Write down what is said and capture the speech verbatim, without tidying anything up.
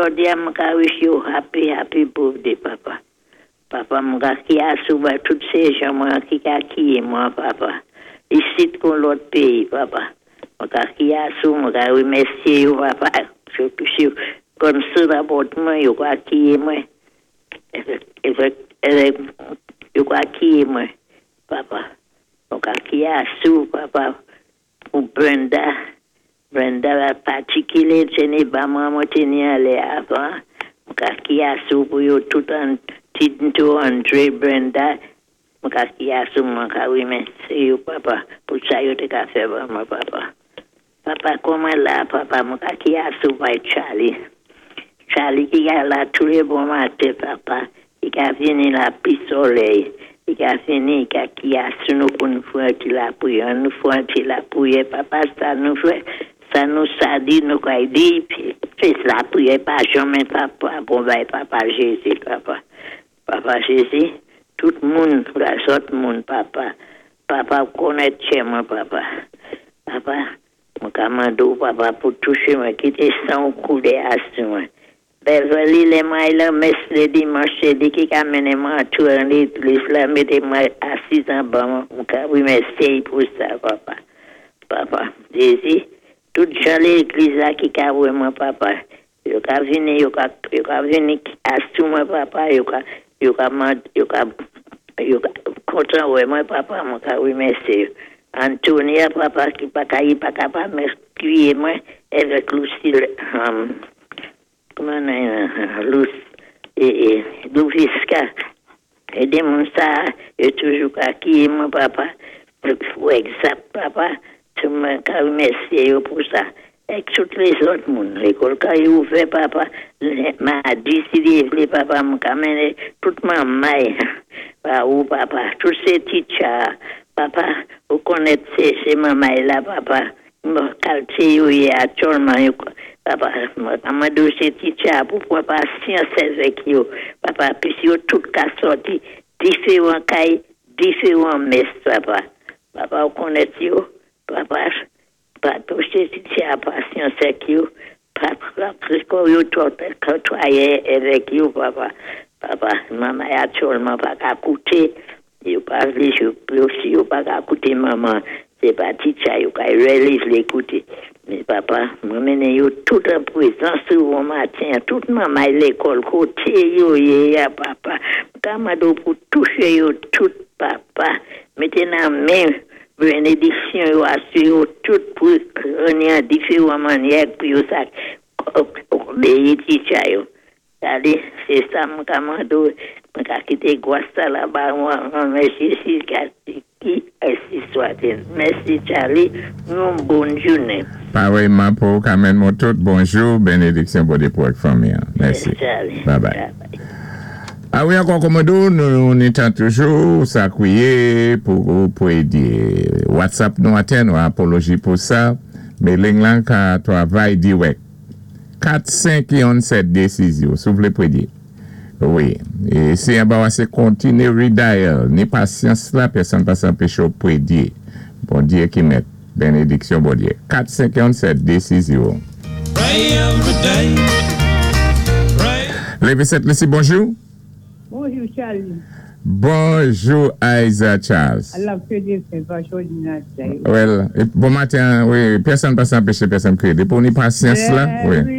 Jòdi-a, mwen ka wish you happy, happy birthday, papa. Papa, mwen ka kié asou bay tout sé jan mwen ki ka kié mwen, papa. Isit kon lòt péyi, papa. Mwen ka kié asou, mwen ka wimèsyé yo, papa. Sitou si kon sou about mwen, yo ka kié mwen. Évèk, évèk, yo ka kié mwen, papa. Mwen ka kié asou, papa, pou Brenda. Brenda la patikilé, sé ni ba mwen mwen té ni anlè avan. Mwen ka kié asou pou yo tout an Tinto Andre Brenda. Mwen ka kié asou, mwen ka wimèsyé yo, papa, pou sa yo té ka fè ban mwen, papa. Papa, kòman la, papa, mwen ka kié asou bay Charlie. Charlie ki ka la toulé bon maten, papa. I ka vini la pi solèy. I ka vini, i ka kié asou nou pou nou fè ti lapriyè. Nou fè ti lapriyè, papa, sa nou fè, sa nou sa di, nou ka di, fè lapriyè pa janmen, papa, bon bay papa Jézi, papa. Papa Jézi, tout moun, lazòt moun, papa. Papa, konnèt kè mwen, papa. Papa, mwen ka mandé-w, papa, pou touché mwen, kité san koulé asou mwen. Beverly, lè mwen la mès lé dimanch, sé li ki ka mennen mwen antou an légliz la, mété mwen asiz anba mwen, mwen ka wimèsyé pou sa, papa. Papa, Jézi, tout jan légliz la ki ka wè mwen, papa. Yo ka vini, yo ka, yo ka vini asou mwen, papa, yo ka, yo ka mand, yo ka, yo ka kontan wè mwen, papa, mwen ka wimèsyé. Antonia, papa, ki pa ka yi pa kapab krié mwen, avèk Lucille, um, kòman euh, Luce, é, é, Louviska, é moun sa, yo toujou ka kié mwen, papa, pou egzanp, papa, tou mwen ka wimèsyé yo pou sa. Ek tout lézòt moun, lékòl ka yi ouvè, papa, madi, si li vlé, papa, mwen ka mennen tout manmay, pa ou, papa, tout sé teacher, papa, ou konnèt sé, sé manmay la, papa, mwen kalité yo yé aktyèlman, yo, papa, mwen ka mandé sé teacher pou pwan pasyans avèk yo, papa, pis yo tout ka sòti diféwan kay, diféwan mès, papa. Papa, ou konnèt yo, papa, pa touché teacher pasyans avèk yo, papa, pis yo tout kotwayé avèk yo, papa. Papa, manman aktyèlman pa ka kouté, yo pa vlé, yo, yo, si yo pa ka kouté manman, sé pa teacher yo ka really vlé kouté. Mé papa, mwen mennen yo tout an pwézans ou bon maten, tout manmay lékòl koté yo yé ya, papa. Ka mandé-w pou touché yo tout, papa. Mété nan men bénédiksyon yo asou yo tout pou an diféwan mannyè pou yo sa obéyi teacher yo. Allez, sé sa mwen ka mandé-w, mwen ka kité gwas sa la ba mwen, mèsi si ki ainsi soit-il. Mèsi Charlie, yon bòn jounen. Parèyman pou Carmen Motot, bonjou, bénédiksyon Bondyé pou ak fanmi. Mèsi. Charlie. Bye bye. A wi, ankò kòmando, nou ni tan toujou, sa kwié pou pou édé. WhatsApp nou aten, nou apoloji pou sa, mé ling lan ka twavay diwèk. kat senk youn sèt dé sis yo, si ou vlé pwédyé. Wi, é si an ba sé kontiné redial, ni pasyans la, pèsonn pa anpéché ou pwédyé. Bondyé ki mèt, bénédiksyon Bondyé. kat senk youn sèt dé sis yo. Pray every day. Pray. Lévi Sent Lisi, bonjou. Bonjou, Charlie. Bonjou, Isa Charles. I love to do Well, bon maten, wi, pèsonn pa anpéché pèsonn krié. Dépi ou ni pasyans la, wi.